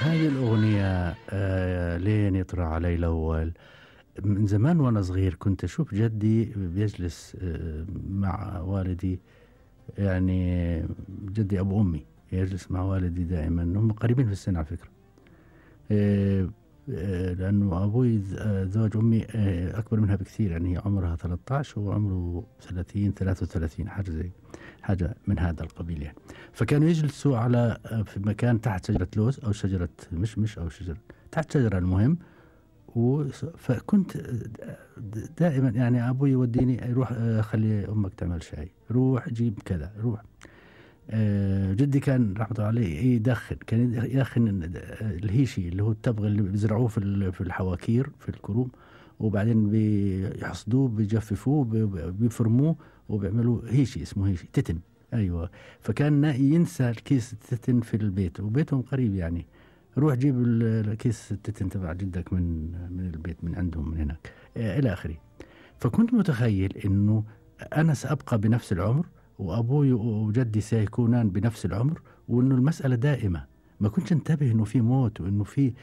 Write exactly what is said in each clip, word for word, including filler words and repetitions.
هذه الأغنية آه لين يطرى علي الأول. من زمان وأنا صغير كنت أشوف جدي بيجلس آه مع والدي، يعني جدي أبو أمي يجلس مع والدي دائما، هم قريبين في السن على فكرة. آه آه لأنه أبوي زوج أمي آه أكبر منها بكثير، يعني هي عمرها ثلاثة عشر وعمره ثلاثين ثلاثة وثلاثين حاجة زي حاجة من هذا القبيل يعني. فكانوا يجلسوا على في مكان تحت شجرة لوز أو شجرة مشمش أو شجرة تحت شجرة المهم. فكنت دائما يعني أبوي يوديني روح خلي أمك تعمل شاي، روح جيب كذا، روح. جدي كان رحمة الله عليه يدخن، كان يدخن الهيشي اللي هو التبغ اللي بيزرعوه في في الحواكير في الكروم، وبعدين بيحصدوه بيجففوه بيفرموه وبيعملوا هيشي اسمه هيشي تتن. أيوة. فكان ينسى الكيس التتن في البيت، وبيتهم قريب يعني، روح جيب الكيس التتن تبع جدك من من البيت من عندهم من هناك إلى آخره. فكنت متخيل إنه أنا سأبقى بنفس العمر وأبوي وجدي سيكونان بنفس العمر، وإنه المسألة دائمة. ما كنتش انتبه إنه في موت، وإنه في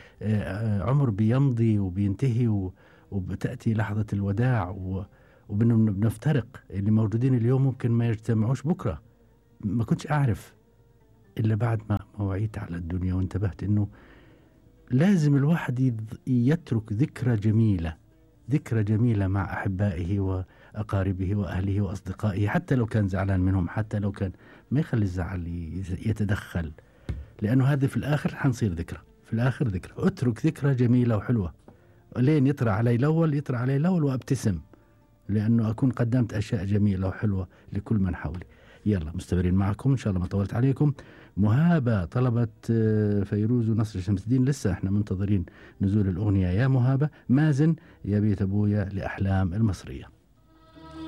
عمر بيمضي وبينتهي وبتأتي لحظة الوداع، وبنفترق. اللي موجودين اليوم ممكن ما يجتمعوش بكرة. ما كنتش أعرف إلا بعد ما وعيت على الدنيا وانتبهت إنه لازم الواحد يترك ذكرى جميلة، ذكرى جميلة مع أحبائه وأقاربه وأهله وأصدقائه، حتى لو كان زعلان منهم، حتى لو كان ما يخلي الزعل يتدخل، لأنه هذا في الآخر حنصير ذكرى، في الآخر ذكرى. أترك ذكرى جميلة وحلوة لين يطرى علي الأول، يطرى علي الأول وأبتسم، لأنه أكون قدمت أشياء جميلة وحلوة لكل من حولي. يلا مستمرين معكم إن شاء الله ما طولت عليكم. مهابة طلبت فيروز ونصر شمس الدين، لسه احنا منتظرين نزول الأغنية يا مهابة. مازن يا بيت أبويا لأحلام المصرية.